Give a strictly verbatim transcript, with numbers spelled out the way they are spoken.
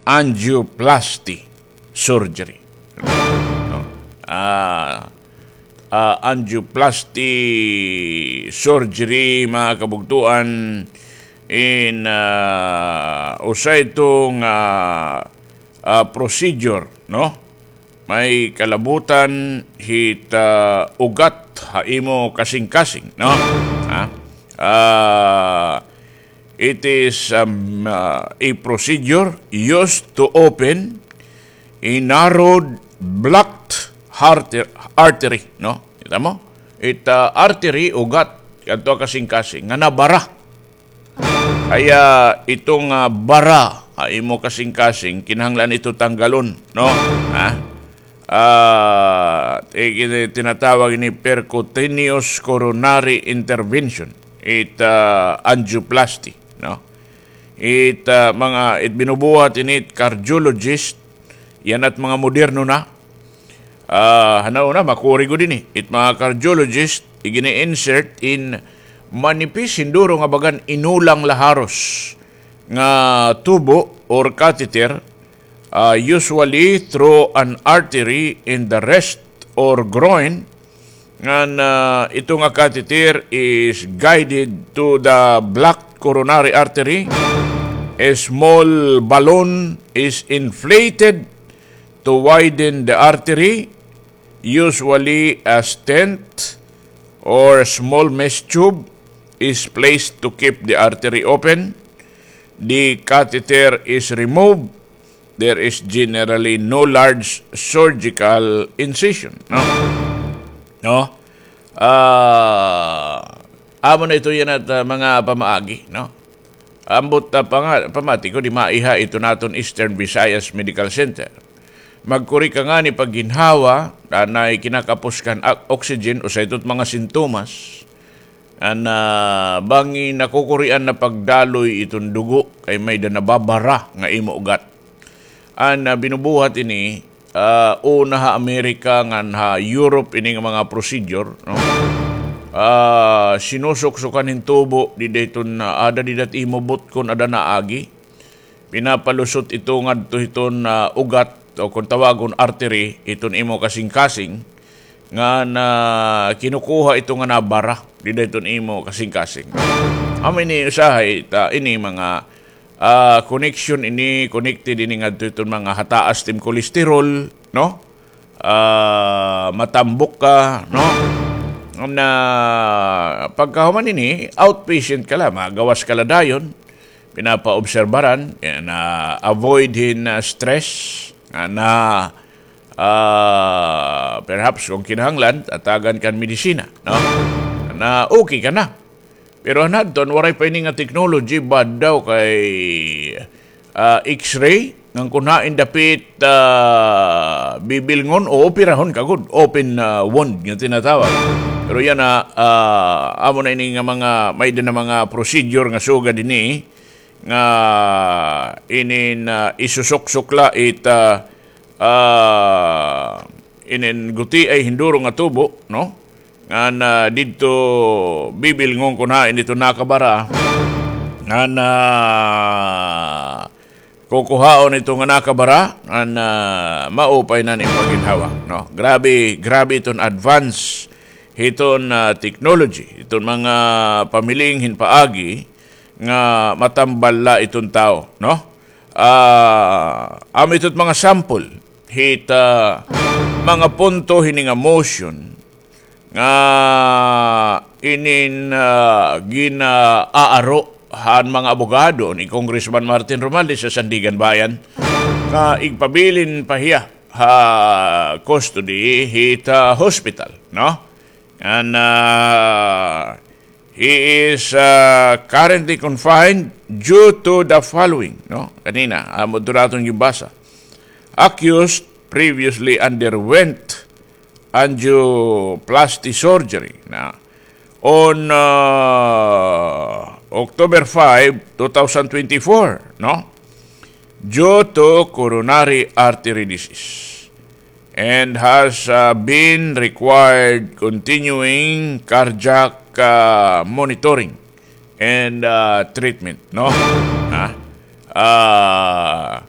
angioplasty surgery. No? Ah, ah, angioplasty surgery, mga kabugtuan, in, ah, usa ito nga, ah, procedure, no? May kalabutan hit, ah, ugat ha imo kasingkasing, no? Ha? Ah, it is, um, ah, a procedure used to open a narrowed, blocked arter-, artery, no? Kita mo? It, ah, artery, ugat, kadto ha kasingkasing, nga nabara. Kaya ito nga bara ha imo kasingkasing, kinahanglan ito tanggalon, no? Ha? Ah, eh, kini-, tinatawag ini percutaneous coronary intervention. It, ah, angioplasty, no? It, ah, mga, it binubuhat ini it cardiologist, yana it mga moderno na. Ah, hanaw na, makuri gud ini. It mga cardiologist, igini-insert in manipis, hinduro nga bagan inulang la haros nga tubo or catheter, ah, usually through an artery in the wrist or groin, ngan, ah, ito nga catheter is guided to the blocked coronary artery. A small balloon is inflated to widen the artery. Usually, a stent or small mesh tube is placed to keep the artery open. The catheter is removed. There is generally no large surgical incision. No? No? Ah, amo na ito yana it, ah, mga pamaagi, no? Ambot, ah, panga-, pamati ko, di maiha ito naton Eastern Visayas Medical Center. Magkuri ka ngani pagginhawa, anay kinakapos kan ak-, oxygen, usa ito it mga sintomas. An, ah, bangi nakukurian na pagdaloy iton dugo, kay may-ada nababara nga imo ugat. An, ah, binubuhat ini, ah, una ha Amerika ngan ha Europe ini nga mga procedure, no? Ah, sinusuksukan hin tubo, dida iton, ah, ada dida it imo butkon, ada naagi. Pinapalusot ito ngadto hiton, ah, ugat, o kon tawagon artery, hiton imo kasingkasing, ngan kinukuha ito nga nabara, dida hiton imo kasingkasing. Amo ini usahay, ta, ini mga, ah, connection ini, connected ini ngadto hiton mga hataas tim cholesterol, no? Ah, matambok ka, no? Na pagkahuman ini, outpatient ka la, magawas ka la dayon, pinapaobserbaran, yan, ah, avoid hin, ah, stress, nga na, ah, perhaps kung kinahanglan, tatagan kan medisina, no? Na okay ka na. Pero han hadton, waray pa ini nga technology, bad daw kay, ah, X-ray, ngan kun hain dapit, ah, bibilngon o operahon ka gud, open, ah, wound nga tinatawag. Pero yana, ah, amo na ini nga mga, may-ada na mga procedure nga sugad ini, nga inin, ah, isusuksok la it, ah, ah, inin gutiay hinduro nga tubo, no? Ngan, ah, didto bibilngon kun hain ito nakabara. Ngan, ah, kukuhaon ito nga nakabara, ngan, ah, maupay na an im pagginhawa, no? Grabe, grabe iton advance hiton, ah, technology, hiton mga pamiling hin paagi nga matambal la iton tawo, no? Ah, amo ito it mga sample hit, ah, mga punto hini nga motion nga inin, ah, gin-aaro han mga abogado ni Congressman Martin Romualdez ha Sandiganbayan nga igpabilin pa hiya ha custody hit, ah, hospital, no? And, ah, he is, ah, currently confined due to the following, no? Kanina, amo ito naton gibasa. Accused previously underwent angioplasty surgery na on, ah, October five, two thousand twenty-four, no? Due to coronary artery disease and has, ah, been required continuing cardiac, ah, monitoring and, ah, treatment, no? Ha? Ah,